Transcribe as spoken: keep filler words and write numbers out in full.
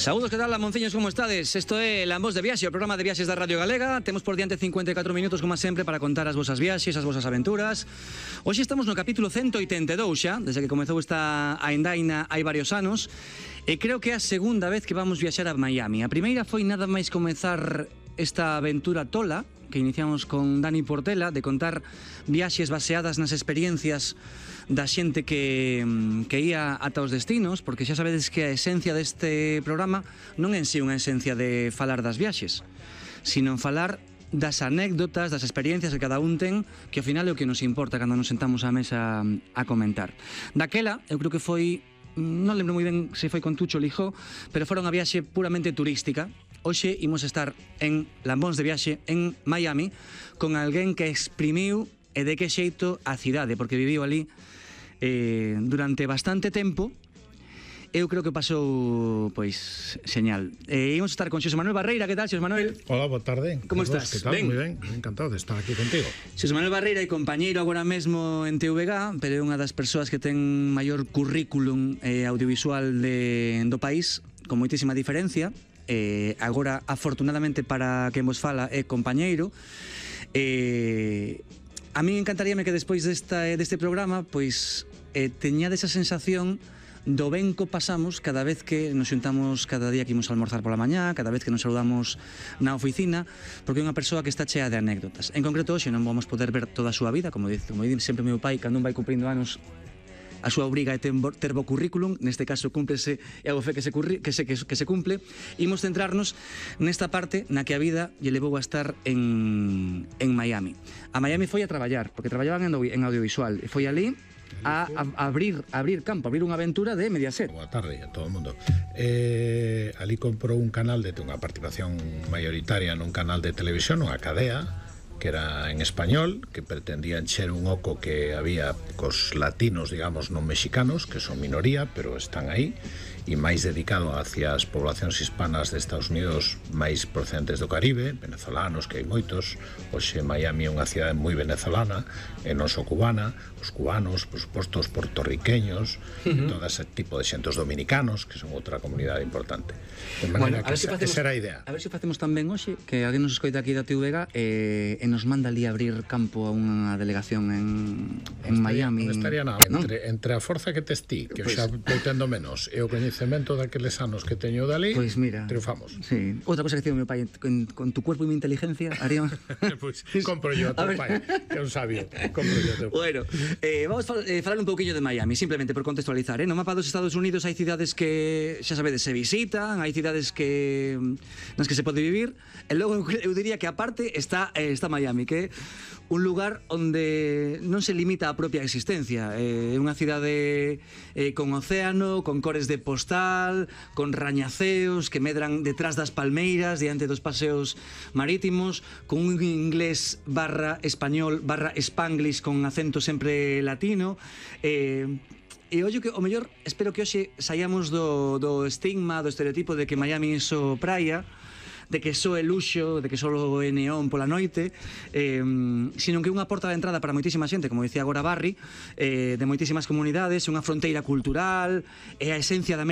Saúdos, que tal, lamonciños, como estades? Isto é Lambos de Viaxe, o programa de viaxes da Radio Galega. Temos por diante cincuenta e catro minutos, como sempre, para contar as vosas viaxes, as vosas aventuras. Hoxe estamos no capítulo ciento oitenta e dous xa, desde que comezou esta aindaina hai varios anos, e creo que é a segunda vez que vamos viaxar a Miami. A primeira foi nada máis comezar esta aventura tola, que iniciamos con Dani Portela, de contar viaxes baseadas nas experiencias da xente que, que ia ata os destinos, porque xa sabedes que a esencia deste programa non é en si unha esencia de falar das viaxes, sino en falar das anécdotas, das experiencias que cada un ten, que ao final é o que nos importa cando nos sentamos á mesa a comentar. Daquela, eu creo que foi, non lembro moi ben se foi con Tucho Lijó, pero fora unha viaxe puramente turística. Hoxe imos estar en Lambóns de Viaxe en Miami con alguén que exprimiu e de que xeito a cidade, porque viviu ali eh, durante bastante tempo. Eu creo que pasou, pois, señal. Eh, imos estar con Xosé Manuel Barreira. Que tal, Xosé Manuel? Hola, boa tarde. Como estás? Que tal? Ben. Moi ben, encantado de estar aquí contigo. Xosé Manuel Barreira é compañeiro agora mesmo en T V G, pero é unha das persoas que ten maior currículum eh, audiovisual de, do país, con moitísima diferencia. Eh, agora, afortunadamente para quen vos fala, é compañeiro. Eh, a mí encantaríame que despois desta, deste programa, pois, eh, teñades esa sensación do ben co pasamos cada vez que nos xuntamos, cada día que imos a almorzar pola mañá, cada vez que nos saludamos na oficina, porque é unha persoa que está chea de anécdotas. En concreto, hoxe non vamos poder ver toda a súa vida, como dice, como dice sempre meu pai, cando un vai cumprindo anos, a súa obriga é ter bo currículum, neste caso cúmplese e a fe que se, curri, que se, que, que se cumple. Imos centrarnos nesta parte na que a vida lle levou a estar en, en Miami. A Miami foi a traballar, porque traballaban en, en audiovisual, e foi ali a, a abrir, a abrir campo, a abrir unha aventura de Mediaset. Boa tarde a todo o mundo. Eh, ali comprou un canal de unha participación mayoritaria nun canal de televisión, unha cadea, que era en español, que pretendían ser un oco que había cos latinos, digamos, non mexicanos, que son minoría, pero están aí, e máis dedicado hacia as poblacións hispanas de Estados Unidos máis procedentes do Caribe, venezolanos, que hai moitos. Hoxe Miami é unha cidade moi venezolana, e non só cubana, os cubanos, por suposto, os portorriqueños, uh-huh. todo ese tipo de xentos dominicanos, que son outra comunidade importante. De maneira bueno, que esa, facemos, esa era a idea. A ver se facemos tamén hoxe, que alguén nos escoita aquí da T V G e, e nos manda ali abrir campo a unha delegación en, en estaría, Miami. Non estaría nada, ¿no? entre, entre a forza que tes ti, que pues, xa estou tendo menos, e o coñecemento daqueles anos que teño dali, pues mira, triunfamos. Sí. Outra cosa que digo meu pai, con, con tu cuerpo e mi inteligencia haríamos... Pois pues, compro yo a teu pai, que é un sabio. Compro yo a teu pai. Bueno, eh, vamos a eh, falar un pouquiño de Miami, simplemente por contextualizar, eh? No mapa dos Estados Unidos hai cidades que, xa sabedes, se visitan, hai cidades que nas que se pode vivir, e logo eu diría que aparte está, eh, está Miami, que é un lugar onde non se limita a propia existencia. É eh, unha cidade eh, con océano, con cores de postal, con rañaceos que medran detrás das palmeiras diante dos paseos marítimos, con un inglés barra español barra spanglish con acento sempre latino. eh, E ollo que, o mellor, espero que hoxe saíamos do, do estigma, do estereotipo de que Miami é só praia, de que só é luxo, de que só é neón pola noite, eh, sino que é unha porta de entrada para moitísima xente, como dicía agora Barry, eh, de moitísimas comunidades, unha fronteira cultural, é a esencia da América